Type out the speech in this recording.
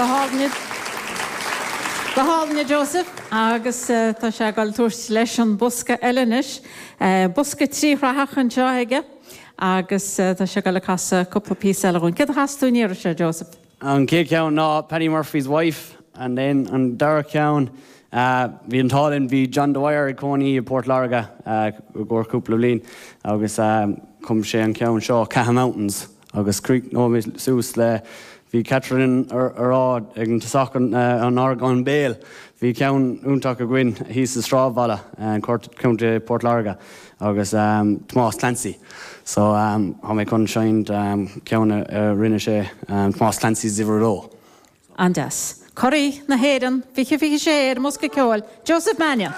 Go hálainn. Go hálainn a Joseph. Agus tá sé ag dul tabhairt leis an bosca eile anois. Bosca tríshrathach anseo aige agus tá sé ag dul ag casadh cúpla píosa eile dhúinn. Céard a chas tú an iarraidh seo, Joseph? An chéad cheann ná Paddy Murphy's Wife and then an dara ceann bhí an t-ádh linn bhí John Dwyer ag cónaí i bPort Láirge i gcomhair cúpla bliain agus chum sé an ceann seo Caha Mountains agus críochnóidh mé suas le bhí Catherine a rá ag an tosach an orgán béil bhí ceann iontach againn thíos sa sráidbhaile Contae Port Láirge agus Tomás Clancy. So tá mé chun seinnt ceann a rinne sé, Tomás Clancy's Uimhir a Dó. An-deas. Curaidh na hÉireann 2026 ar an mBosca Ceoil, Joseph Mannion.